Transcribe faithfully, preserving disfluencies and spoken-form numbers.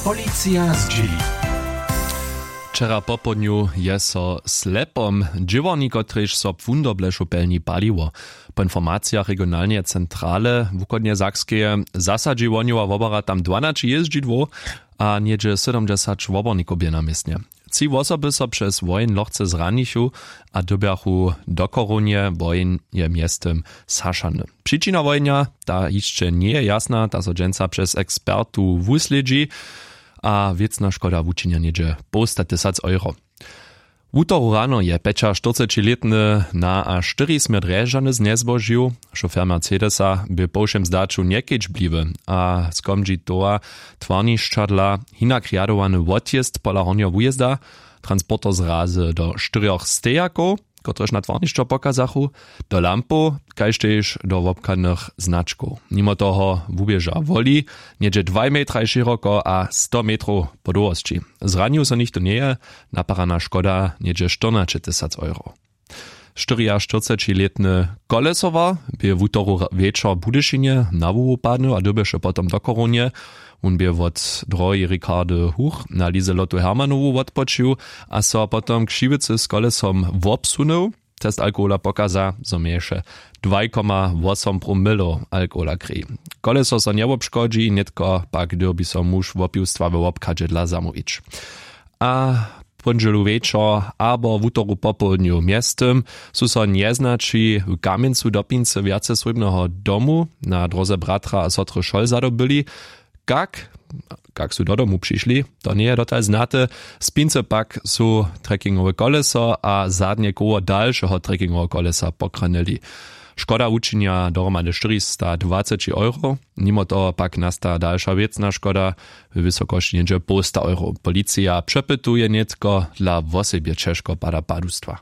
Policija zdźěli. Wčera popołdnju je so slepom dźěłarni, kotrež so płundoblešow pelni, paliło. Po informacijach regionalneje centrale wuchodnje sakskeje zasadźi wohnjowa wobora tam dwanaći jězdźidłow a něhdźe sydomdźesać wobornikow bě na městnje. Tři wosoby so přez woheń lochce zranichu a dyrbjachu do chorownje. Woheń je mjeztym zhašany. Přičina wohenja, ta hišće njeje jasna, ta so dźensa přez ekspertu wuslědźi. A wěcna škoda wučinja něhdźe połsta tysac euro. Wutoru rano je pjećaštyrcećilětny na a štyri směr drježdźany znjezbožił. Šofer mercedesa bě po wšěm zdaću njekedźbliwy a skomdźi towa twarnišćadla hinak rjadowany wotjězd pola hornjeho wujězda. Transporter zrazy do štyrjoch stejakow, kotrež na twarnišćo pokazachu, do lampow, kaž tež do wobchadnych značkow. Nimo toho wuběža woli něhdźe dwaj metraj šěroko a sto metrow po dołhosći. Zranił so nichtó njeje. Naparana škoda něhdźe štyrnaćetysac euro. Štyriaštyrcećilětny Kolesowar bě wutoru wječor w Budyšinje na hłowu padnył a dyrbješe potom do chorownje. Wón bě wot droheji Ricardy Huch na lize lotu Hermanowu wotpočił a so potom křiwicy z kolesom wobsunył. Test alkohola pokaza, zo měješe dwaj koma wosom promylow alkohola krej. Koleso so njewobškodźi, nětko pak dyrbi so muž wopiwstwa we wobchadźe dla zamołwić. A póndźelu wječor abo wutoru popołdnju mjeztym su so njeznaći w kamjencu dopincy wjace swójbneho domu na dróze bratra a sotry šol zadobyli. Kak kak su do domu přišli, to njeje dotal znate. Spincy pak su trekkingowe koleso a zadnje koło dalšeho trekkingoweho kolesa pokranyli. Škoda wučinja dohromady štyristadwaceći euro. Nimo toho pak nasta dalša wěcna škoda we wysokosći něhdźe połsta euro. Policija přepytuje nětko dla wosebje ćežko pada padustwa.